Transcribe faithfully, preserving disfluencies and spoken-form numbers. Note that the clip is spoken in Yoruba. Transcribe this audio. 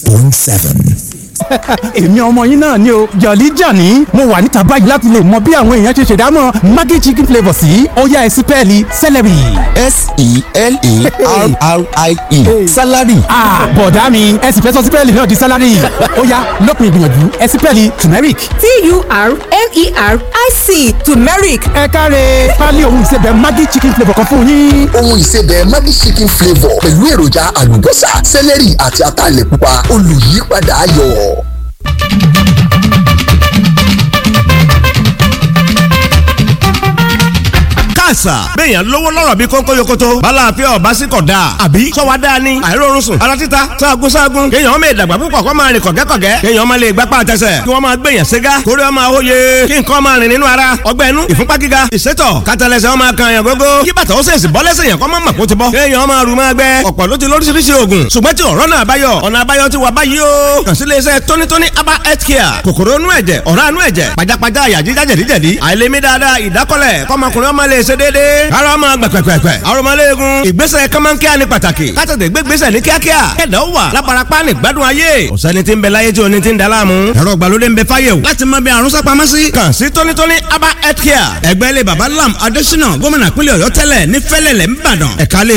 point seven. Èmi ọmọ yín náà ni o, Jọ̀lí Jàní. Mo wà níta báyìí láti lè mọ bí àwọn èèyàn ṣe ṣèdámọ̀ Maggi chicken flavour sí. Ó yá, ẹ sí pẹ́ẹ́lí celery. S E L E R R I E, salary. Ah, bọ̀dá mi, ẹ sì fẹ́ sọ sípẹ́ẹ̀lì náà di salary. Ó yá, lópin ìgbìyànjú, ẹ sípẹ́ẹ̀lì turmeric. T U R M E R I C, turmeric. Ẹ káre, pálí ohun ìsebẹ̀ Maggi chicken flavour kan fún yín. Ohun ìsebẹ̀ Maggi chicken flavour pẹ̀lú èròjà àlùbọ́sà, sẹ́lẹ̀rì àti ataalẹ̀ pupa, olùyípadà ayọ̀. Káàsà, béèyàn lówó lọ́rọ̀ bí kónkó yokoto, balaafẹ́ ọ̀básíkọ̀ dáa, àbí sọ́wọ́ dáa ni, àìrórun sùn, ara títa, sáàgùn sáàgùn, kéèyàn ọmọ ìdàgbà púpọ̀ kó máa rìn kọ̀gẹ́kọ̀gẹ́, kéèyàn ọmọ lè gbápá àtẹsẹ̀, kí wọ́n máa gbèyàn ségá, kórè ọmọ àwòye, kí nǹkan máa rìn nínú ara, ọgbẹ́ inú, ìfúnpá gíga, ìsétọ̀, kátàlẹ́sẹ̀ ọmọ kan yàn gógó, kí bàtà ó sèṣì bọ́ lẹ́sẹ̀ yàn kọ́ mọ́ màkó ti bọ́, kéèyàn ọmọ àrùn máa gbẹ, ọ̀pọ̀ ló ti lóríṣiríṣi oògùn, ṣùgbọ́n tí ọ̀rọ̀ náà báyọ̀, ọ̀nà àbáyọ ti wà báyìí o. Kàn sí iléeṣẹ́ tónítóní herbal health care. Kòkòrò inú ẹ̀jẹ̀, ọ̀rá inú ẹ̀jẹ̀, pajápajá àyà jíjá, jẹ̀díjẹ̀dí, àìlèmí dáadáa, ìdákọ́lẹ̀, kọ́mọkùnrin ọmọ lè ṣe déédéé, ara ọmọ gbẹ̀gbẹ̀gbẹ̀, arọmọléegun, ìgbésẹ̀ kọ́mọ́nkíá ní pàtàkì, kátàtẹ̀ gbégbésẹ̀ ní kíákíá, kẹ̀dá ó wà lábarapá ní gbádùn ayé. Ọ̀sẹ́ni tí ń bẹ láyé tí oní ti ń da láàmú, ẹ̀rọ ìgbàlódé ń bẹ fáyé o láti mọ bí àrùn sápamọ́ sí. Kàn sí tónítóní herbal health care, ẹgbẹ́ ilé baba Lam Adésínà, gómìnà pínlẹ̀ Ọ̀yọ́ tẹ́lẹ̀, ní Fẹ́lẹ́lẹ̀ ńbàdàn, ẹ̀ka ilé